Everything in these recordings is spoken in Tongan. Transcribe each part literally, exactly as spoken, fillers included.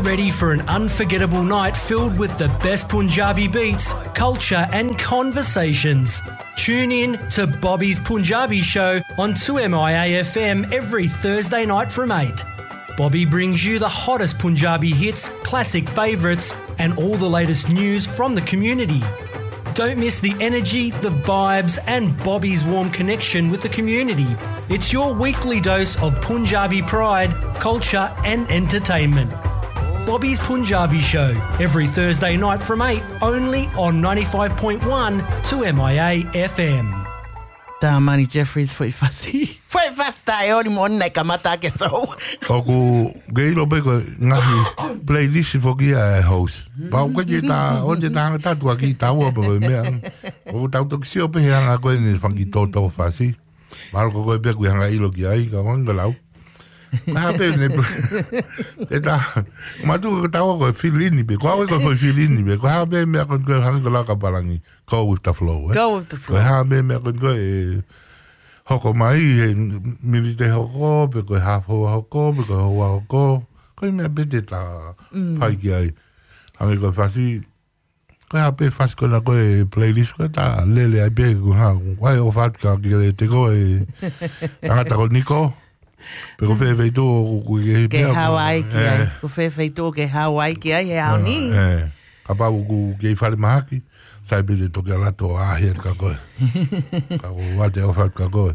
Ready for an unforgettable night filled with the best Punjabi beats, culture, and conversations? Tune in to Bobby's Punjabi Show on two M I A F M every Thursday night from eight. Bobby brings you the hottest Punjabi hits, classic favourites, and all the latest news from the community. Don't miss the energy, the vibes, and Bobby's warm connection with the community. It's your weekly dose of Punjabi pride, culture, and entertainment. Bobby's Punjabi Show, every Thursday night from eight, only on ninety-five point one two M I A F M. Tamani Jeffries, foʻi fasi. Foʻi fasi taʻeoli mo ʻeni naʻe kamata ke sou. ʻOku ke ʻilo pē ko e ngaahi playlist foki ia e host. Pau ke te tā, ʻo te tā hanga tātu a ki taua pē ko e meʻa. ʻOku tau toki sio pē he anga ko eni fanga tōtō fasi. Mahalo ko koe pē ʻoku ke hanga ʻilo ki ai, ka ʻoku hanga lau. Ko e hā pē ne, te tā, mātuʻa ko taua ko e fill in pē, ko au ko e foʻi fill in pē, ko e hā pē meʻa ko eni ko e hanga ko lau ka palangi, go with the flow, eh? Go with the flow. Ko e hā pē meʻa ko eni ko e hoko mai, he miniti hoko, pe ko e haafe houa hoko, pe ko e houa hoko, ko e meʻa pē te tā fai ki ai. Hanga ko e fasi, ko e hā pē fasi ko ena ko e playlist ko e tā lele ai pē ko e hā, ʻoku ʻai ʻofa atu kia, kia te ko e tangata ko Niko. Pe ko fē feituʻu ʻoku ke hiki ke hao ai ki ai. Ko fē feituʻu ke hao ai ki ai he ʻaho ni. Kapau ʻoku ke ʻi fale mahaki, sai pē te toki ʻalu atu ʻo ʻaʻahi atu kia koe. Ka ko ʻete ʻofa atu kia koe.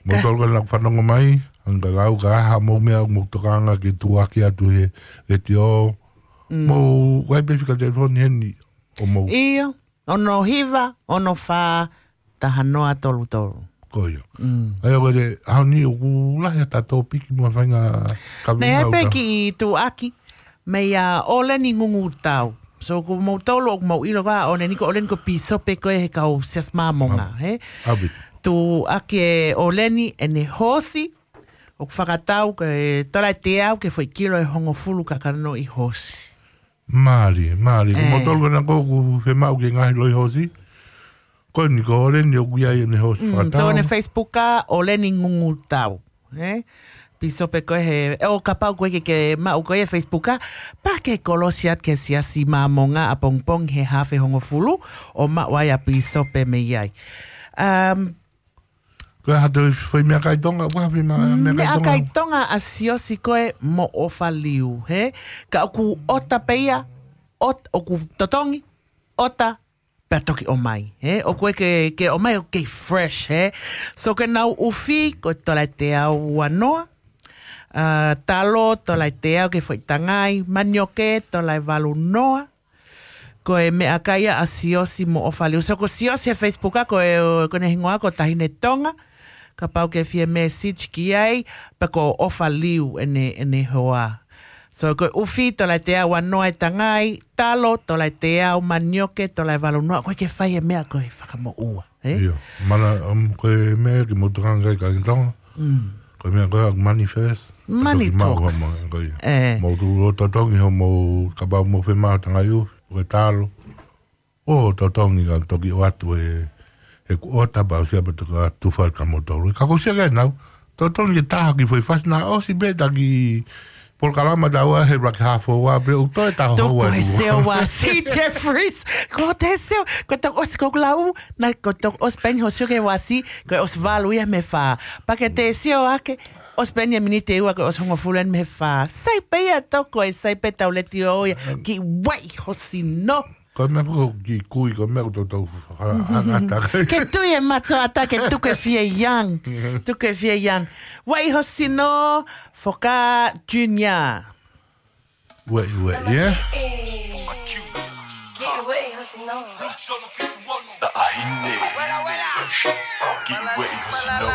Mo tolu ka naʻa ku fanongo mai, hanga lau ka ha mo meʻa mo tokanga ke tuʻaki atu he letiō. Mo ʻai pē fika telefoni heni ʻo mo. ʻIo, ono hiva, ono fā, taha noa tolu tolu. Ko ia. ʻAi ʻo ko e ʻaho ni ʻoku lahi ʻa e tōpiki mo e faʻahinga kaveinga. Naʻe pē kiʻi tuʻaki mei a ʻOleni Ngungutau. So ko moutolu ʻoku mou ʻilo ka ʻOleni ko ʻOleni ko e pīsope ko e he kau Siasi Māmonga, he? Tuʻaki e ʻOleni ʻene hosi, ʻoku fakatau ko e tola ʻe teau ki he foʻi kilo ʻe hongofulu kakano ʻi hosi. Mālie, mālie. Ko moutolu ko ena ʻoku fiemaʻu ke ngaahi loi hosi. Ko eni ko ʻOleni ʻoku ʻi ai ʻene hosi fakatau. So ʻene Facebook ʻa ʻOleni Ngungutau. He? Pīsope ko e he, ʻo kapau ko e ke, ke maʻu ko e Facebook ʻa, pea ke kolosi atu ki he Siasi Māmonga ʻapongipongi he haafe hongofulu, ʻo maʻu ai ʻa pīsope mei ai. Um, Ko e hā te foʻi meʻakai Tonga, ko e hā foʻi meʻakai Tonga? Meʻakai Tonga ʻa Siosi ko e mo ʻOfa Liu, he? Ka ʻoku ʻota pē ia, ʻot-, ʻoku totongi, ʻota, pea toki ʻomai, he? ʻOku ke, ke ʻomai ʻoku kei fresh, he? So ke nau ʻufi, ko e tola ʻe teau ua noa, ʻa, talo, tola ʻe teau ki he foʻi tangai, manioke, tola ʻe valu noa, Ko e meʻakai ia ʻa Siosi mo ʻOfa Liu. So ko Siosi he Facebook ʻa, ko e, ko ʻene hingoa ko Tahine Tonga. Kapau ke fie message ki ai, pea ko ʻOfa Liu ʻene, ʻene hoa. So ko e ʻufi tola ʻe teau ua noa e tangai, talo tola ʻe teau, manioke tola ʻe valu noa, ko e ke fai e meʻa ko e fakamoʻua. He? ʻIo. Mana, um, ko e meʻa ke mou tokanga ki ai ka ki Tonga. Mm. Ko e meʻa ko e money first. Money talks. Ko ia. Mou tuʻu ʻo totongi hoʻomou, kapau mou fiemaʻu tangai ʻufi, ko e talo. ʻO totongi ka toki ʻoatu e, e kuota pea ʻosi pea toki ʻoatu fai kia moutolu. Ka ko sia ke nau. Totongi ke taha ki foʻi fasi naʻe ʻosi pē taki polokalama taua he laki hafo ua pē ʻoku toe taha hou atu. Toko e seo ua si Jeffries. Ko te seo, ko toki ʻosi ko lau, na ko toki ʻosi peni ho sio ke ua si, ko ʻosi valu ia mei he fā. Pea ke te sio ake, ʻosi peni e miniti ua ko ʻosi hongofulu eni mei he fā. Sai pē ia toko e sai pē tau leti ʻo ia, ki wai ho sino. Ko e meʻa ko ki kui, ko e meʻa ko tau tau ha-, ha-, ha-, ha-. Ke tui e mato ata ke tuku e fie young. Tuku e fie young. Wai ho sino, Foka Junior. Wai, wai, yeah. Foka Junior. Ke wai ho sino. Taʻahine. Ki wai ho sino.